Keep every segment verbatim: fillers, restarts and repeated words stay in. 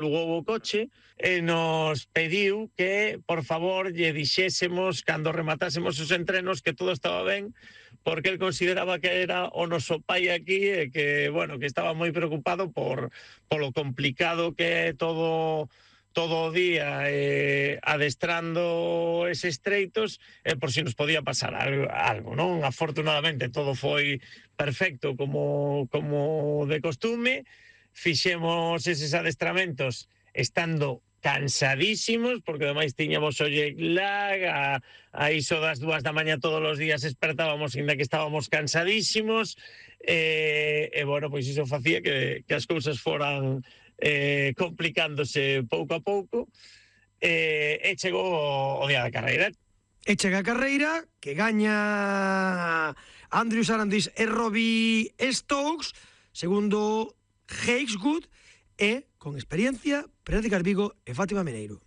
alugou o coche e nos pediu que, por favor, lle dixésemos cando rematásemos os entrenos que todo estaba ben, porque el consideraba que era o noso pai aquí e que, bueno, que estaba moi preocupado por polo complicado que é todo todo o día eh, adestrando eses treitos e por si nos podía pasar algo, algo, non? Afortunadamente todo foi perfecto como, como de costume. Fixemos eses adestramentos estando cansadísimos, porque ademais tiñamos o jet lag, a, a iso das dúas da mañá todos os días despertábamos ainda que estábamos cansadísimos, e, e bueno, pois iso facía que, que as cousas foran eh, complicándose pouco a pouco, e, e chegou o, o día da carreira. E chega a carreira, que gaña Andrew Sarandis e Robbie Stokes, segundo Hageswood, e, con experiencia, Pérez de Carvigo e Fátima Meneiro.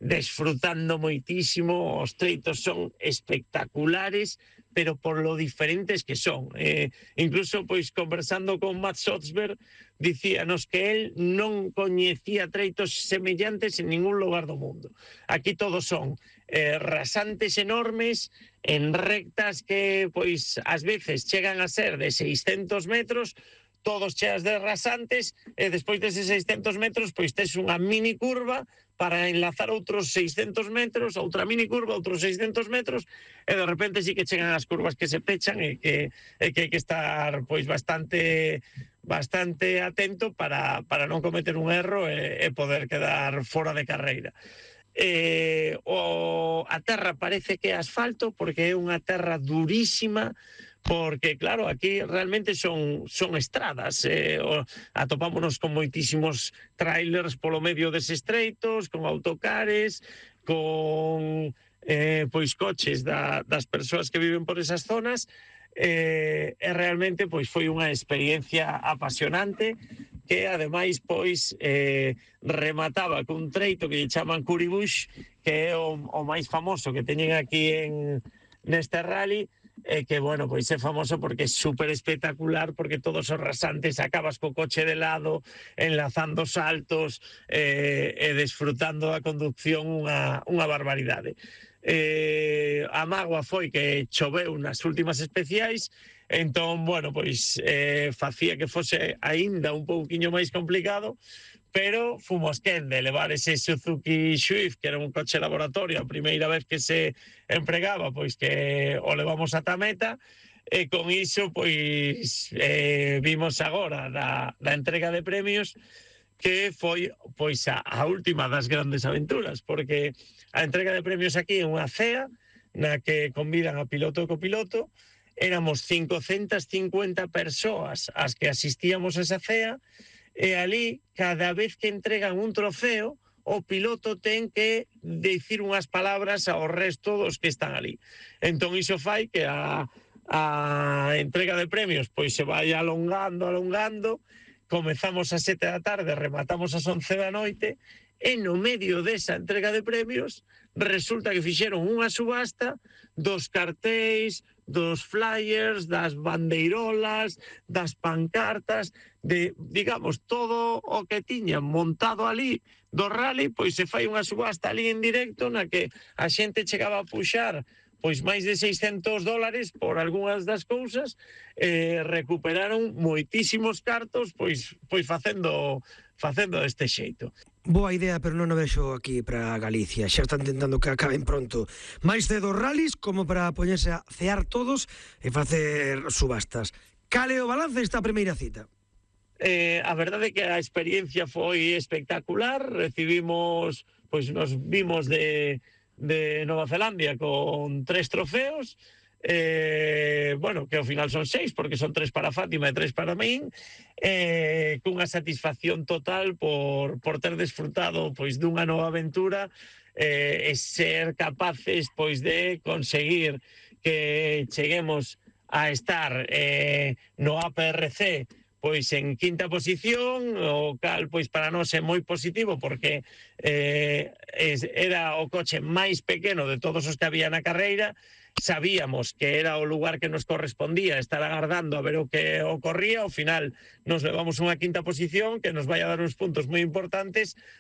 Desfrutando moitísimo, os treitos son espectaculares, pero por lo diferentes que son. Eh, incluso, pois, conversando con Matt Sotsberg, dicíanos que él non coñecía treitos semellantes en ningún lugar do mundo. Aquí todos son eh, rasantes enormes, en rectas que, pois, ás veces chegan a ser de seiscentos metros, todos cheas de rasantes, e despois deses seiscentos metros, pois tes unha mini curva para enlazar outros seiscentos metros, outra mini curva, outros seiscentos metros, e de repente sí que chegan as curvas que se pechan e que, e que hai que estar pois bastante bastante atento para, para non cometer un erro e, e poder quedar fora de carreira. Eh, o, a terra parece que é asfalto porque é unha terra durísima, porque claro, aquí realmente son son estradas, eh, o, atopámonos con moitísimos trailers polo medio deses treitos, con autocares, con eh, pois coches da, das persoas que viven por esas zonas, eh, e realmente pois foi unha experiencia apasionante que ademais pois eh, remataba cun treito que lle chaman Curry Bush, que é o, o máis famoso que teñen aquí en neste rally, e que, bueno, pois é famoso porque é super espectacular, porque todos os rasantes acabas co coche de lado, enlazando saltos eh, e desfrutando da conducción unha, unha barbaridade. Eh, a mágoa foi que choveu nas últimas especiais, entón, bueno, pois eh, facía que fose aínda un pouquiño máis complicado, pero fomos quen de levar ese Suzuki Swift, que era un coche laboratorio, a primeira vez que se empregaba, pois que o levamos ata meta, e con iso, pois, eh, vimos agora da, da entrega de premios, que foi, pois, a, a última das grandes aventuras, porque a entrega de premios aquí é unha cea, na que convidan a piloto e copiloto, éramos cincocentas cincuenta persoas as que asistíamos a esa cea, e ali, cada vez que entregan un trofeo, o piloto ten que dicir unhas palabras ao resto dos que están ali. Entón iso fai que a, a entrega de premios pois se vai alongando, alongando, comezamos a sete da tarde, rematamos as once da noite, e no medio desa entrega de premios resulta que fixeron unha subasta dos cartéis, dos flyers, das bandeirolas, das pancartas, de, digamos, todo o que tiñan montado ali do rally, pois se fai unha subasta ali en directo na que a xente chegaba a puxar pois máis de seiscentos dólares por algunhas das cousas, eh, recuperaron moitísimos cartos pois pois facendo facendo deste xeito. Boa idea, pero non o vexo aquí para Galicia. Xa están tentando que acaben pronto. Máis cedo rallies como para poñerse a cear todos e facer subastas. Cale o balance esta primeira cita? Eh, a verdade é que a experiencia foi espectacular. Recibimos, pois nos vimos de, de Nova Zelandia con tres trofeos. Eh, bueno, que ao final son seis, porque son tres para Fátima e tres para min, eh, cunha satisfacción total por, por ter desfrutado pois dunha nova aventura, eh, e ser capaces pois de conseguir que cheguemos a estar eh, no A P R C pois en quinta posición, o cal pois para nós é moi positivo porque eh, era o coche máis pequeno de todos os que había na carreira. Sabíamos que era o lugar que nos correspondía estar agardando a ver o que ocorría. Ao final nos levamos unha quinta posición que nos vai a dar uns puntos moi importantes